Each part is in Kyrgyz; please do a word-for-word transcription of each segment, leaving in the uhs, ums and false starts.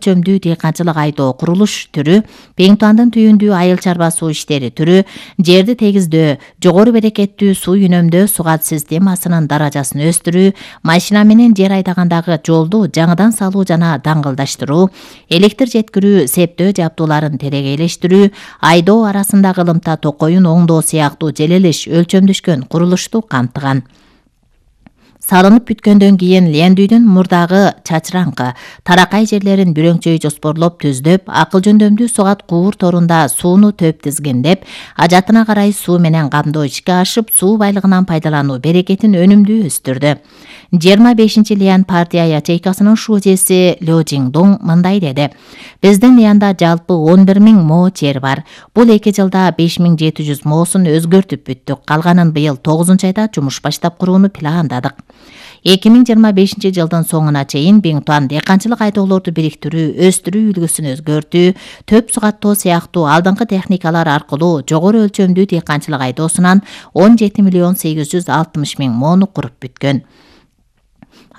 өлчөмдүү дыйканчылык айдоо курулуш түрү, Беңтуандын түйүндүү айыл чарба суу иштери түрү, жерди тегиздөө, жогору берекеттүү суу үнөмдөө сугат системасынын даражасын өстүрүү, машина менен жер айдагандагы жолду жаңыдан салуу жана даңгылдаштыруу, электр жеткирүү, септөө жабдууларын терегейлештирүү, айдоо арасындагы ылымта токоюн оңдоо сыяктуу желелиш өлчөмдөшкөн курулушту камтыган. Салынып бүткөндөн кийин лендүүдүн мурдагы чачыраңкы, таракай жерлерин бүрөңчөй жоспорлоп түздөп, акыл жөндөмдүү сугат куур торунда сууну төп тизгиндеп, ажатына карай суу менен камдоо ишке ашып, суу байлыгынан пайдалануу берекетин өнүмдүү өстүрдү. жыйырма бешинчи Лиан партия ячейкасынын шужеси Лё Жиңдуң мындай деди: Биздин Лианда жалпы он бир миң мо жер бар. Бул эки жылда беш миң жети жүз моосун өзгөртүп бүттүк. Калганын быйыл тогузунчу айда жумуш баштап курууну пландадык. эки миң жыйырма бешинчи жылдын соңуна чейин Беңтуан дыйканчылык айдоолорду бириктирүү, өстүрүү үлгүсүн өзгөртүү, төп сугаттоо сыяктуу алдыңкы техникалар аркылуу жогору өлчөмдүү дыйканчылык айдоосунан он жети миллион сегиз жүз алтымыш миң мону куруп бүткөн.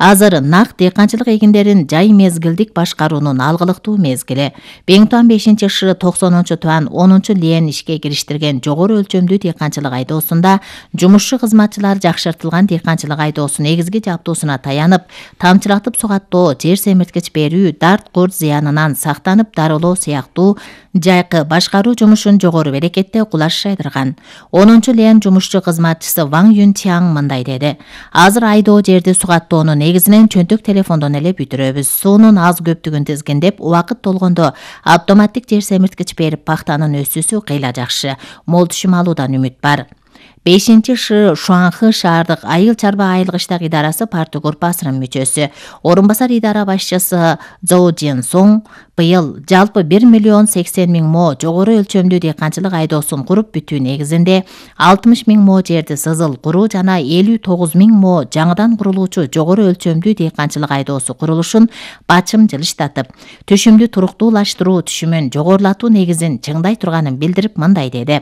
Азыр нак дыйканчылык эгиндерин жай мезгилдик башкаруунун алгылыктуу мезгили. Беңтуан бешинчи шы токсонунчу туан онунчу Лиен ишке кириштирген жогору өлчөмдүү дыйканчылык айдоосунда жумушчу кызматчылар жакшыртылган дыйканчылык айдоосу негизги жабдуусуна таянып, тамчылатып сугаттоо, жер семирткич берүү, дарт курт зыянынан сактанып дарылоо сыяктуу жайкы башкаруу жумушун жогору берекетте кулаш жайдырган. онунчу Лиен жумушчу кызматчысы Ваң Юн Чаң мындай деди: Азыр айдоо жерди сугаттоонун негизинен чөнтөк телефондон эле бүтүрөбүз. Суунун аз көптүгүн тизгиндеп, убакыт болгондо автоматтик жер семирткич берип, пахтанын өсүүсү кыйла жакшы. Мол түшүм алуудан үмүт бар. бешинчи шы Шуанхы шаардык айыл чарба айылгычтак идарасы парты группасынын мүчөсү, орун басар идара башчысы Зоу Джин Соң быйыл жалпы бир миллион сексен миң мо жогору өлчөмдүү дыйканчылык айдоосун куруп бүтүү негизинде алтымыш миң мо жерди сызыл куруу жана элүү тогуз миң мо жаңыдан курулуучу жогору өлчөмдүү дыйканчылык айдоосу курулушун бачым жылыштатып, түшүмдү туруктуулаштыруу, түшүмүн жогорулатуу негизин чыңдай турганын билдирип мындай деди: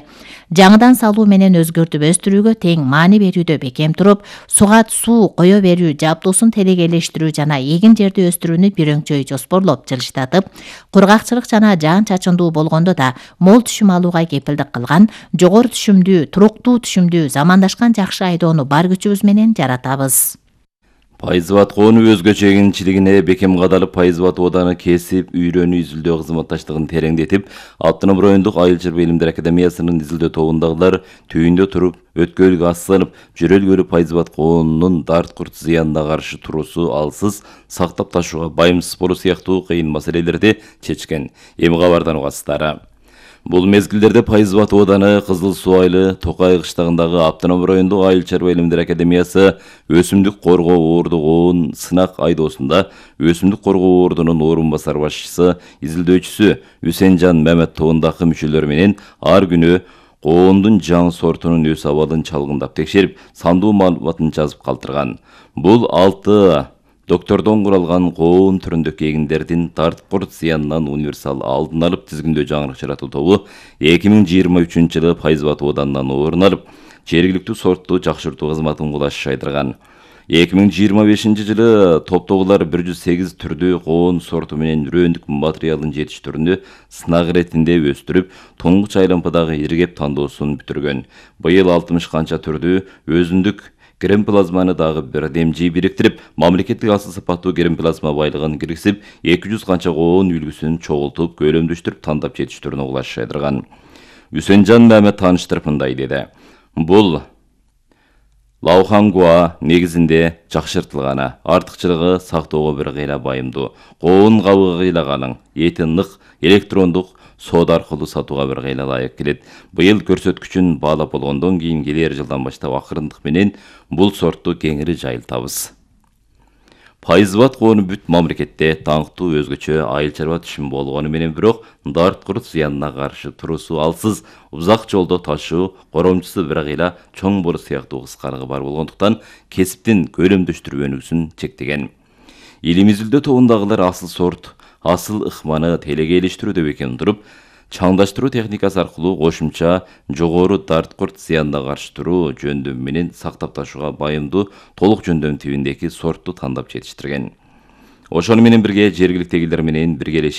Жаңыдан салуу менен өзгөртүп өстүрүүгө тең маани берүүдө бекем туруп, сугат суу кое берүү жабдуусун телегейлештирүү жана эгин жерди өстүрүүнү бирөңчөй жоспорлоп жылыштатып, кургакчылык жана жаан чачындуу болгондо да мол түшүм алууга кепилдик кылган, жогору түшүмдүү, туруктуу түшүмдүү, замандашкан жакшы айдоону бар күчүбүз менен жаратабыз. Пайызбат коонуу өзгөчө эгинчилигине бекем кадалып, Пайызбат ооданы кесип, үйрөнүү изилдөө кызматташтыгын тереңдетип, Автоном райондук айыл чарба илимдер академиясынын изилдөө тобундагылар түйүндө туруп, өткөлгө асланып, жөрөлгөлү Пайызбат коонунун дарт курт зыянына каршы туруусу алсыз сактап ташууга байымсыз болуу сыяктуу кыйын маселелерди чечкен. Эми кабардан угасыздар. Бул мезгилдерде Пайызбат ооданы Кызыл Суу айылы Токай кыштагындагы Автоном райондук айыл чарба илимдер академиясы өсүмдүк коргоо оордук оон сынак айдоосунда өсүмдүк коргоо оордунун орун басар башчысы, изилдөөчүсү Үсенжан Мамет тобундагы мүчөлөр менен ар күнү коондун жаңы сортунун өс абалын чалгындап текшерип, сандуу маалыматын жазып калтырган. Бул алты доктордон куралган коон түрүндөгү эгиндердин дарт курт зыянынан универсал алдын алып тизгиндөө жаңырык жаратуу тобу эки миң жыйырма үчүнчү жылы Пайызбат оодунан орун алып, жергиликтүү сортту жакшыртуу кызматын кулаш жайдырган. эки миң жыйырма бешинчи жылы топтогулар бир жүз сегиз түрдүү коон сорту менен үрөндүк материалын жетиштирүүнү сынак иретинде өстүрүп, туңгуч айлампадагы иргеп тандоосун бүтүргөн. Быйыл алтымыш канча түрдүү өзүндүк гермоплазманы дагы бирдемжи бириктирип, мамлекеттик асыл сапаттуу гермоплазма байлыгын киргизип, эки жүз канча коон үлгүсүн чогултуп, көлөмдөштүрүп, тандап жетиштирүүнү кулаш жайдырган. Үсенжан Мамет тааныштырып мындай деди: Бул Лаухангуа негизинде жакшыртылганы, артыкчылыгы сактоого бир кыйла байымдуу. Коон кабыгы кыйлаганын, эти нык, электрондук соода аркылуу сатууга бир кыйла ылайык келет. Быйыл көрсөткүчүн баалап болгондон кийин келер жылдан баштап акырындык менен бул сортту кеңири жайылтабыз. Пайызбат коону бүт мамлекетте таңктуу өзгөчө айыл чарба түшүм болгону менен бирок дарт курт зыянына каршы туруусу алсыз узак жолдо ташуу коромчусу бир кыйла чоң болуу сыяктуу кыскалыгы бар болгондуктан кесиптин көлөмдөштүрүүнүсүн чектеген. Илим изилдөө тобундагылар асыл сорт, асыл ыкманы телегейлештирүүдө бекем туруп, чаңдаштыруу техникасы аркылуу кошумча жогору дарт курт зыянына каршы туруу жөндөм менен сактап ташууга байымдуу толук жөндөм тибиндеги сортту тандап жетиштирген. Ошону менен бирге жергиликтегилер менен биргелешип